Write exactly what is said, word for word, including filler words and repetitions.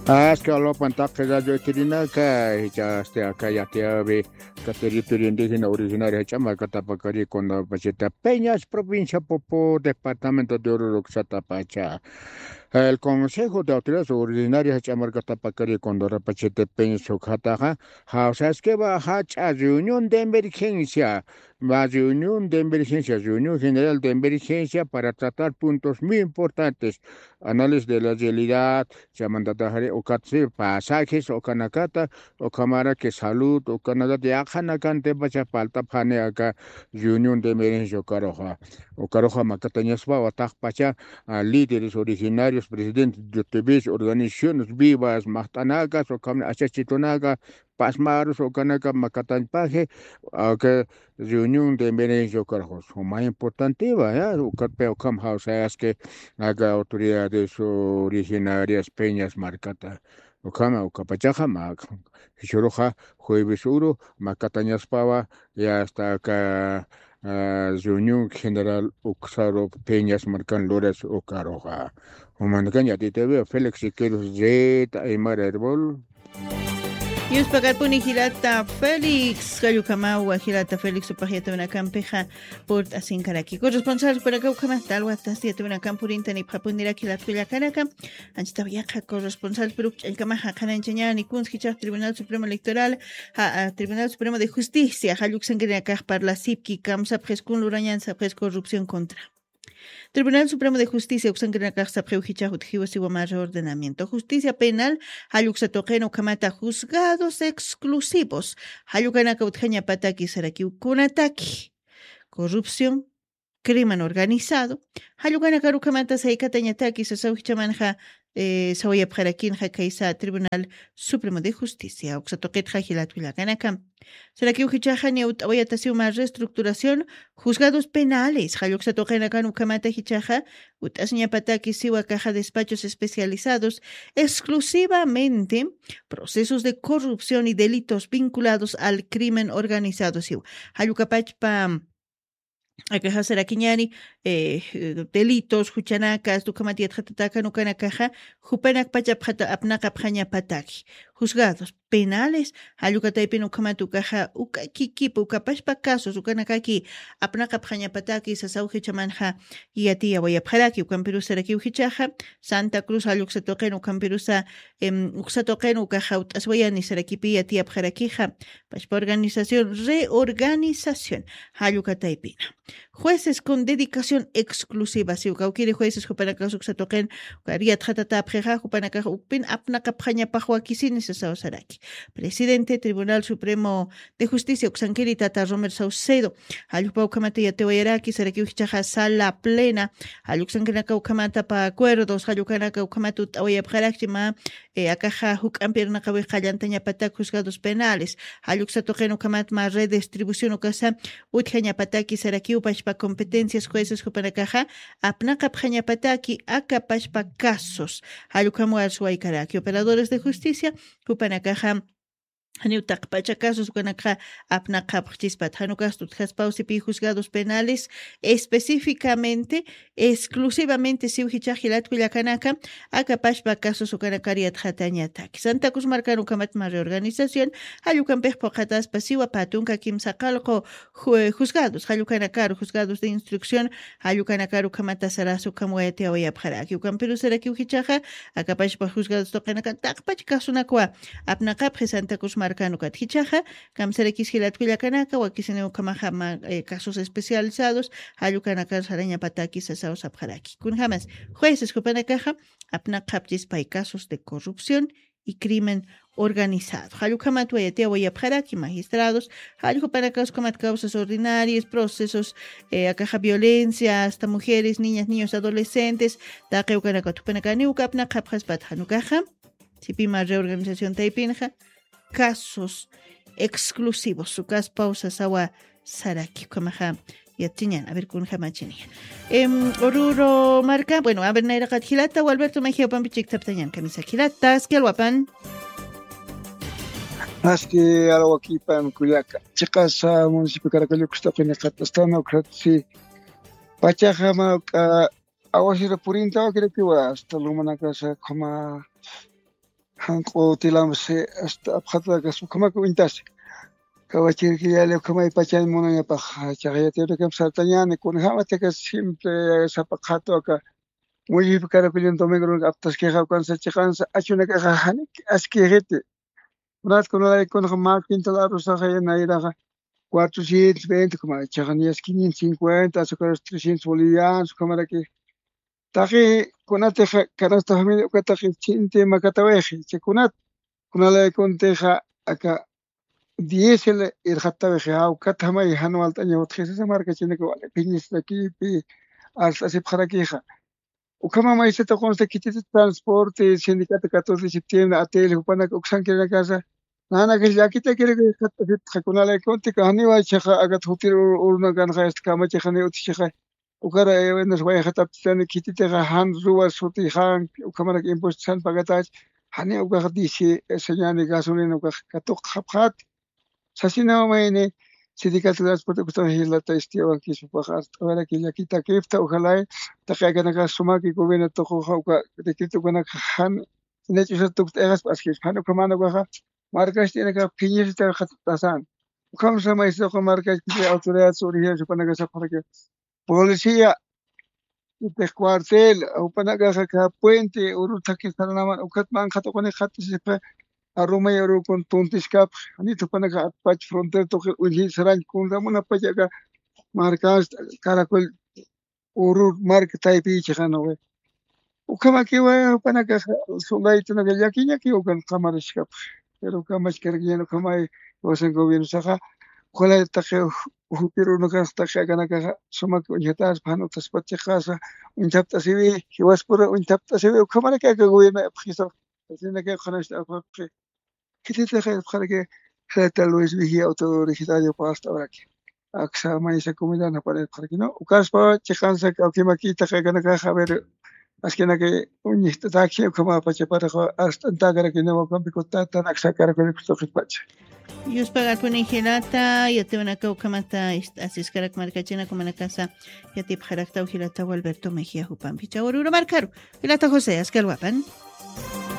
Aski alwapan taqi radio itirinaka, jichhasti aka yatiyawi, aka territorio indígena originario jach'a markatapakari Condorapachete Peñas, provincia Poopó, departamento de Oruro uksatapacha. El Consejo de Autoridades Originarias jach'a markatapakari Condorapachete Peñas ukataxa, jawsaskiwa jach'a reunión de emergencia, la reunión de emergencia, reunión general de emergencia para tratar puntos muy importantes, análisis de la realidad, chamantatari ukatsi pasajes, ukanakata, ukamaraki salud, ukanakata yaqhanakantipacha faltapxani aka reunión de emergencia ukaruxa. Ukaruxa makatañaspawa taqpacha, ah, líderes originarios, presidentes de U T Vs, organizaciones vivas, maqt'anakas, ukamna achachitunaka, pasmarus ukanaka makatañpaji, aka reunión de emergencia ukarxus. Uma importantiva, ya, ukatpi ukham jawsayaski aka autoridades originarias Peñas markata. Ukhama, ukapachaxa, ma, jichhüruxa jueves uru makatañaspawa, ya hasta aka, ah, reunión general uksaru Peñas markan luras ukaruxa. Umanakañ yatiytawi Félix Siqueiros, Zeta Aymara Herbol. Yuspakarpuni jilata Félix, jallukamawa jilata Félix, jupax yatiyawinakampixa purt'asinkaraki. Corresponsal jupanakaw ukhamata alwatas yatiyawinakamp purintanipxapuniraki jilat kullakanaka. Anchitaw yaqha corresponsal piruk ch'allkamaxa qhanañchañäni kuns jichhax Tribunal Supremo Electoral, ja, a, Tribunal Supremo de Justicia, jalluksankirinakax parlasipki, kamsapxis kun lurañan sapxis corrupción contra. Tribunal Supremo de Justicia uksankirinakax sapxiw jichhax utjiwa siwa mä reordenamiento. Justicia penal, jalluksa tuqin ukhamata juzgados exclusivos, jallukanaka utjañapataki sarakiw kunataki. Corrupción, crimen organizado, jallukanakar ukhamata saykatañataki sasaw jichhamanxa, eh, sawayapxarakinxa khaysa Tribunal Supremo de Justicia, uksa tuqitxa jilat kullakanaka. Sarakiw jichhaxa niya ut'awayatasiw mä reestructuración juzgados penales, jalluksa tuqinakan ukhamata jichhaxa ut'asiñapataki siwa caja despachos especializados exclusivamente procesos de corrupción y delitos vinculados al crimen organizado siw. Jallukapachpa akaxa sarakiñäni, eh, delitos, juchanakas, ukhamat yatxatatakan ukanakaxa, jupanakpach apxata-, apnaqapxañapataki. Juzgados penales, jallukataypin ukhamat ukaxa, uka kikipa, ukapachpa casos, ukanakaki apnaqapxañapataki, sasaw jichhamanxa yatiyawayapxaraki, ukampirus sarakiw jichhaxa, Santa Cruz jalluksa tuqin, ukampirusa, em, uksa tuqin, ukaxa ut'aswayani sarakipi yatiyapxarakixa, pachpa organización, reorganización, jallukataypina. Jueces con dedicación exclusiva, siw kawkiri jueces jupanakax uksa tuqin, ukar yatxatatäpxixa, jupanakax ukpin apnaqapxañapax wakisini sasaw saraki. Presidente Tribunal Supremo de Justicia uksankiri tata Romer Saucedo, jallukpa ukhamata yatiwayaraki, sarakiw jichhaxa sala plena, jalluksankirinaka ukhamata pä acuerdos, jallukanaka ukhamata ut'awayapxarakchi mä, eh, akaxa juk'ampi irnaqawix qallantañapatak juzgados penales, jalluksa tuqin ukhamat mä redistribución ukasa utjañapataki sarakiw pachpa competencias jueces jupanakaxa apnaqapxañapataki aka pachpa casos, jallukam warsuwaykaraki operadores de justicia, jupanakaxa janiw taqpacha casos ukanakaxa apnaqapxchispat, jan ukasta utjaspaw sipï juzgados penales específicamente, exclusivamente siw jichhax jilat kullakanaka, aka pachpa casos ukanakar yatxatañataki. Santa Cruz markan ukhamat mä reorganización, jallukampix phuqhataspa siwa pä tunka kimsa qallqu ju-, juzgados, jallukanakar juzgados de instrucción, jallukanakar ukhamata saras ukham wayatiyawayapxaraki. Ukampirus sarakiw jichhaxa, aka pachpa juzgados tuqinakan taqpach casonakuwa apnaqapxi Santa Cruz markan ukat jichhaxa, kamsarakis jilat kullakanaka, wakisiniw ukhamaxa mä, eh, casos especializados, jallukanakar sarañapataki sasaw sapxaraki. Kunjamas, jueces jupanakaxa, apnaqapchispay casos de corrupción y crimen organizado. Jallukhamat wayatiyawayapxaraki magistrados, jallukhanakax ukhamat causas ordinarias, procesos, eh, akaxa violencia, hasta mujeres, niñas, niños, adolescentes, taqi ukanakat jupanakaniw uka apnaqapxaspat jan ukaxa, sipï mä reorganización taypinxa, casos exclusivos, ukaspaw sasawa saraki, ukhamaxa yatchiñan, a ver, kunjamachiniya. Em, Oruro marka, bueno, a ver, nayraqat jilata, Gualberto Mejía, jupampi chiktaptañan, kamisa jilata, aski alwapan. Aski alwakipan, kullaka. Chiqasa municipio Caracollukus tuqiniqat astana ukratsi. Pachaxa mä, ah, awasira purinta wakirakiwa, hasta lumanakasa ukhama Janq'u tilamsi asta apxatakas ukhamak uñtasi. Kawachirkillali ukhamay pachañ munañapax, chaxayatirukamp sartañani, kunjämataka siempre sapa qhatu aka mullipi karakullin domingo aptaskixa ukansa chiqansa achunakaxa jani askixiti. Kunat kunalaykuna mä quintal arrozaxa nayraxa cuatrocientos veinte, ukhamay chiqan yas quinientos cincuenta, azucaras trescientos bolivianos ukhamaraki. Taqi kunatixa canasta familia uka taqi chinti makatawixi, chay kunat kunalaykuna tixa aka diésel irxattawixi, jawkatjamay jan walt'aña utjisisa markachinaka wali phiñisirakipi arst'asipxarakixa. Ukhama maysita qunsa khititi transporte sindicato catorce de septiembre, atel jupanaka uksankirinakasa nanakax llakitakiraka irxatt'asipxa, kunalaykuna tixa janiwa chiqa akat jutir urunakanxa, este, kamachixa ni utjichixa. Ukara ewenas wayxataptitani khititixa jan ruwas sutixanki, ukhamarak impuestos jan pagatach, jani ukax disi señani gasolina ukax katuqxapxati. Sasinaw mayni sindicato transporte ukatan jilata istiyawankispapax arst'awaraki llakitakipta, ujalay taqi akanakax sumaki gobierno tuquxa uka decreto ukanakax jan inach'usa tukt'ayxaspa askispa, jan ukhaman ukaxa markast'inakax phiñisita qhatatasan. Ukhamsa maysa uka markachpi autoridad original jupanakax sapxaraki policía, utix cuartel, jupanakaxa aka puente uru thaki saranaman ukat manqhat uquni qhatisipxa arumay urukun tuntiskapxi, janit jupanakax atpach frontera tuqi uñji sarañ kunramunapacha aka markasta, Caracol uru marka taypiy chiqanawi. Ukhamakiwa jupanakaxa soldaditunaka llakiñakiw ukan qamariskapxi. Pero kamachkarakiñan ukhamay iwasan gobiernosaxa. Ojalá taqi jutir urunakanxa taqi akanakaxa sumak uñjataspa, jan utaspat chiqasa uñthapt'asiwi, jiwaspura uñthapt'asiwi, ukhamaraki aka gobierno apxisa. Asinaka qhanasta apxapxi. Khititixa irpxaraki, jilata Luis Vigía, autoridad originario pasta uraki. Aksa maysa comunidad napanirpxaraki, ¿no? Ukaspa chiqansa kawkimakita qillqanakaxa, a ver, askinaki uñjt'atakji, ukhama pachaparaxa arst'antakaraki, ¿no? Wakampi kutatan aksa karakunik tuqitpacha. Yuspagakuni jilata, yatiwanaka ukhamata ist'asiskarak markachina kumanakasa yatipxaraktaw jilata Gualberto Mejía jupampi. Chawruru markaru, jilata José, askalwapan.